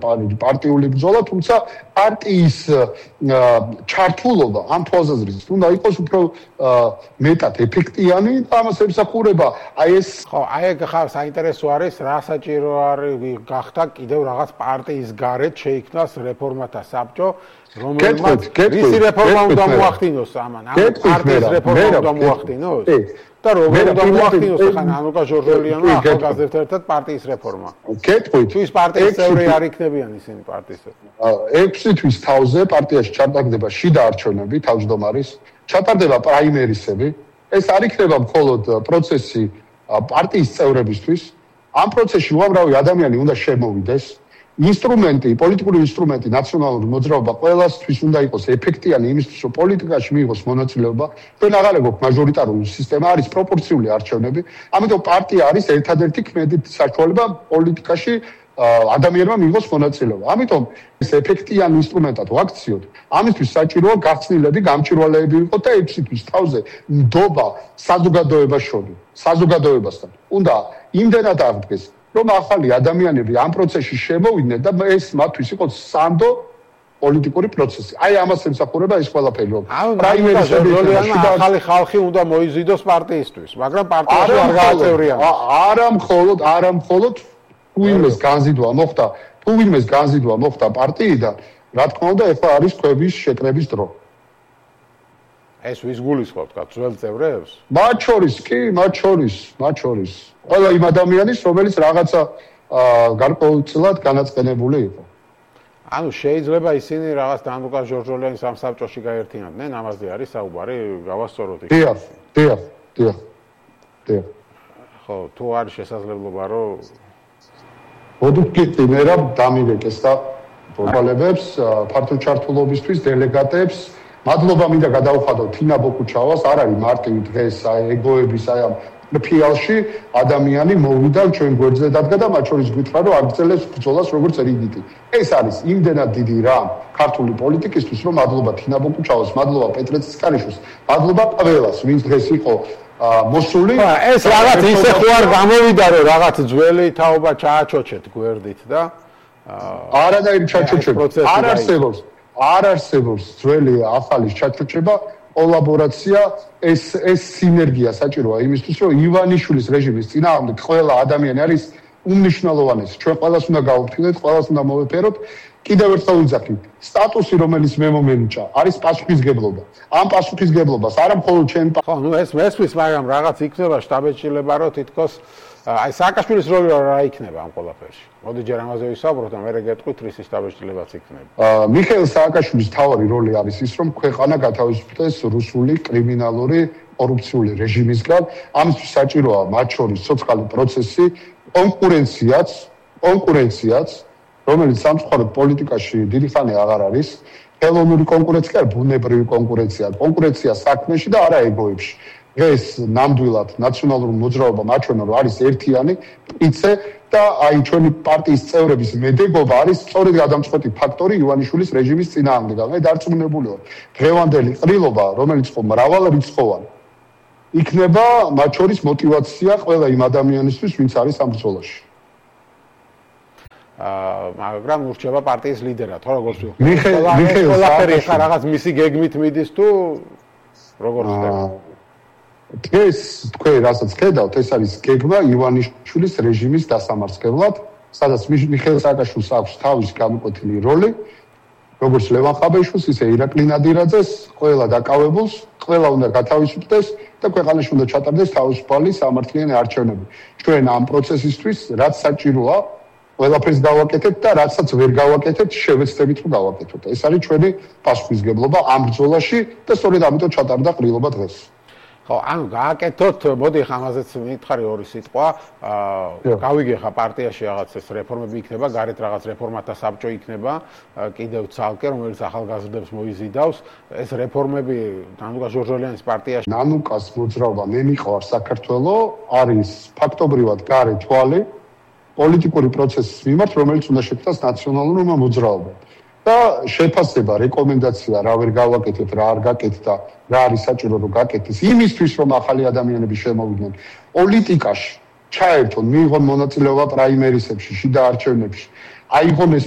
პარტიული ბრძოლა, თუმცა პარტიის ჩართულობა ამ თვალსაზრისით უნდა იყოს უფრო მეტად ეფექტიანი და ამას ემსახურება აი ეს ხო, აი ეგ ხარ საინტერესო არის, რა საჭირო არის გახდა კიდევ რაღაც პარტიის გარეთ შეიქმნას რეფორმათა საბჭო, რომელმაც ისი რეფორმა უნდა მოახდინოს ამან, ამ პარტიის რეფორმა უნდა მოახდინოს? და როგორ უნდა მოახდინოს ახლა ნანუკა ჟორჟოლიანმა ახალგაზრდებთან ერთად პარტიის რეფორმა? გეტყვით. თუ ის პარტიის წევრი არ იქნებიან ისინი პარტიის. 6 თვის თავზე პარტიაში ჩატარდება შიდა არჩევნები თავმჯდომარის, ჩატარდება პრაიმერისები. ეს არ იქნება მხოლოდ პროცესი პარტიის წევრებისთვის. ამ პროცესში უამრავი ადამიანი უნდა შემოვიდეს. პოლიტიკური ინსტრუმენტი, ნაციონალური მოძრაობა ყველასთვის უნდა იყოს ეფექტიანი იმისთვის, რომ პოლიტიკაში მიიღოს მონაწილეობა. ჩვენ აღარ გვაქვს მაჟორიტარული სისტემა, არის პროპორციული არჩევნები. ამიტომ პარტია არის ერთადერთი ქმედი საშუალება პოლიტიკაში ადამიანმა მიიღოს მონაწილეობა. ამიტომ ეს ეფექტიანი ინსტრუმენტად ვაქციოთ. ამისთვის საჭიროა გახსნილები, გამჭვირვალეები ვიყოთ და 6 თვის თავზე ნდობა საზოგადოებასთან. უნდა იმდენად აღდგეს, რომ ახალი ადამიანები ამ პროცესში შემოვიდნენ და ეს მათთვის იყოს სანდო პოლიტიკური პროცესი. აი ამას ემსახურება ეს ყველაფერი, რომ პრაიმერისები ახალი ხალხი უნდა მოიზიდოს პარტიისთვის, მაგრამ პარტიაში არ გააწევრიანოს. არა მხოლოდ თუ ვინმეს განზიდვა მოხდა პარტიიდან, რა თქმა უნდა, ეხლა არის ქვების შეკრების დრო. ეს ვის გულისხმობთ, ძველ წევრებს? მათ შორის. ყველა იმ ადამიანის, რომელიც რაღაცა გარკვეულწილად განაწყენებული იყო. ანუ შეიძლება ისინი რაღაც ნანუკა ჟორჟოლიანის ამ საბჭოში გაერთიანდნენ, ამაზე არის საუბარი, გავასწოროთ იქ. დიახ. ხო, თუ არის შესაძლებლობა, რომ მოდუქი მე რა დამივეკეს და პროპალებს ფართო ჩართულობისთვის დელეგატებს მადლობა მინდა გადავხადო თინა ბოკუჩავას, არ არის მარტივი დღეს ეგოების აი ამ ფიალში ადამიანი მოვიდა ჩვენ გვერდზე დადგა და მათ შორის გითხრა რომ აგრძელებს ბრძოლას როგორც რიგითი. ეს არის იმდენად დიდი რამ ქართული პოლიტიკისთვის, რომ მადლობა თინა ბოკუჩავას, მადლობა პეტრე ცისკარიშვილს, მადლობა ყველას, ვინც დღეს იყო მოსული. ეს რაღაც ისე ხო არ გამოვიდა რომ რაღაც ძველი თაობა ჩააჩოჩეთ გვერდით და არანაირი ჩაჩოჩება არ არსებობს ძველი ახალის ჩაჩოჩება, კოლაბორაცია, ეს სინერგია საჭიროა იმისთვის, რომ ივანიშვილის რეჟიმის წინააღმდეგ ყველა ადამიანი არის უმნიშვნელოვანესი. ჩვენ ყველას უნდა გავუფრთხილდეთ, ყველას უნდა მოვეფეროთ. კიდევ ერთხელ ვიძახი, სტატუსი, რომელიც მე მომენიჭა, არის პასუხისგებლობა. ამ პასუხისგებლობას არა მხოლოდ ჩემი ხო, ეს მესმის, მაგრამ რაღაც იქნება შტაბ-ეჭილება, რომ თითქოს აი სააკაშვილის როლი რა იქნება ამ ყველაფერში. მოდი ჯერ ამაზე ვისაუბროთ და მერე გეტყვით რის შტაბ-ეჭილებაც იქნება. მიხეილ სააკაშვილის თავარი როლი არის ის, რომ ქვეყანა გათავისუფლდეს რუსული კრიმინალური კორუფციული რეჟიმისგან. ამისთვის საჭიროა მათ შორის სოციალური პროცესი, კონკურენციაც, რომელიც სამწუხაროდ პოლიტიკაში დიდი ხანი აღარ არის. ხელოვნური კონკურენცია, ბუნებრივი კონკურენცია საქმეში და არა ეგოებში. ეს ნამდვილად ნაციონალური მოძრაობა მაჩვენა რომ არის ერთიანი პიცე და აი ჩვენი პარტიის წევრების მედეგობა არის სწორედ გადამწყვეტი ფაქტორი ივანიშვილის რეჟიმის წინააღმდეგ. მე დარწმუნებული ვარ, დღევანდელი ყრილობა, რომელიც ხო მრავალრიცხოვანი, იქნება მათ შორის мотиваცია ყველა იმ ადამიანისთვის, ვინც არის ამ ბრძოლაში. მაგრამ ურჩება პარტიის ლიდერად, ხო როგორც ვთქვი. მიხეილ სააკაშვილი რაღაც მისი გეგმით მიდის თუ როგორ ხდება? დღეს თქვენ რასაც ხედავთ, ეს არის გეგმა ივანიშვილის რეჟიმის დასამარცხებლად, სადაც მიხეილ სააკაშვილს აქვს თავისი გამოკვეთილი როლი, როგორც ლევან ხაბეიშვილს, ისე ირაკლი ნადირაძეს, ყველა დაკავებულს, ყველა უნდა გათავისუფლდეს და ქვეყანაში უნდა ჩატარდეს თავისუფალი სამართლიანი არჩევნები. ჩვენ ამ პროცესისთვის რაც საჭიროა, ყველაფერს გავაკეთებთ და რაცაც ვერ გავაკეთებთ, შევეცდებით რომ გავაკეთოთ. ეს არის ჩვენი პასუხისგებლობა ამ ბრძოლაში და სწორედ ამიტომ ჩატარდა ყრილობა დღეს. ხო, ანუ გააკეთოთ, მოდი ამაზეც მითხარი ორი სიტყვა. გავიგე ხა პარტიაში რაღაც ეს რეფორმები იქნება, გარეთ რაღაც რეფორმათა საბჭო იქნება, კიდევ ცალკე, რომელიც ახალგაზრდებს მოიზიდავს. ეს რეფორმები ნანუკა ჟორჟოლიანის პარტიაში. ნანუკას მოძრაობა მე მიყვარს საქართველო, არის ფაქტობრივად გარე თვალი პოლიტიკური პროცესის მიმართ, რომელიც უნდა შექმნას ნაციონალურმა მოძრაობამ. და შეფასება, რეკომენდაცია, რა ვერ გავაკეთეთ, რა არ გაკეთდა და რა არის საჭირო რომ გაკეთდეს, იმისთვის რომ ახალი ადამიანები შემოვიდნენ პოლიტიკაში, ჩაერთონ, მიიღონ მონაწილეობა პრაიმერისებში, შიდა არჩევნებში, აიღონ ეს